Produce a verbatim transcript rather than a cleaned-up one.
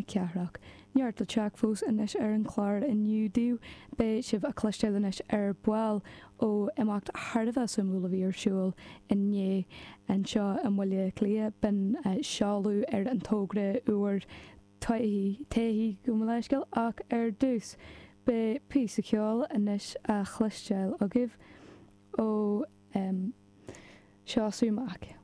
Cathrach. Neart le teacht fós anois ar an chlár inniu daoibh, beidh sibh a chloisteáil anois ar ball ó imeacht thar a bheith suimiúil a bhí ar siúl inné anseo i mBaile Átha Cliath b'in seoladh ar an togra úr Taithí gabh mo leithscéal ach ar dtús beidh píosa ceoil anois a chloisteáil agaibh ó um, Seosamh Mac.